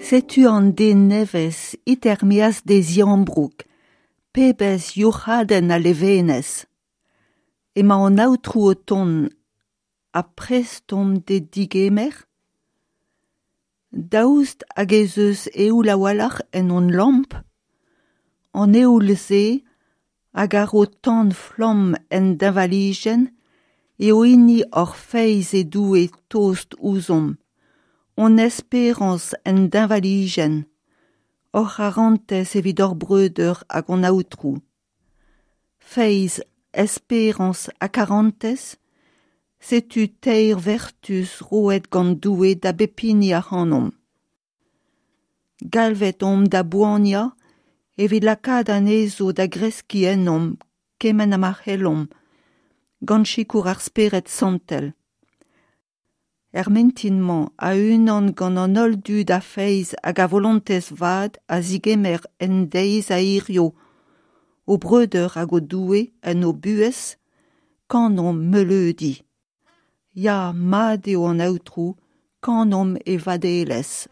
Setu an den nevez it er-maez d'e ziambroug, pebezh youc'hadenn a levenez ! Emañ an Aotrou o tont ha prest omp d'e degemer ? Daoust hag ez eus eoul a-walc'h en hon lamp ? An eoul-se hag a ro tan flamm en deñvalijenn eo hini hor feiz e Doue tost ouzhomp, hon esperañs en deñvalijenn, hor c'harantez evit hor breudeur hag hon Aotrou. Feiz, esperañs ha karantez, setu teir vertuz roet gant Doue da bep hini ac'hanomp. Galvet omp da boaniañ evit lakaat anezho da greskiñ ennomp kement ha ma c'hellomp, gant sikour ar Spered Santel. Er mintin-mañ, a-unan gant an holl dud a feiz hag a volontez vat a zegemer en deiz a hiziv o breudeur hag o Doue en o buhez, kanomp meuleudi. Ya, mat eo an Aotrou, kanomp e vadelezh.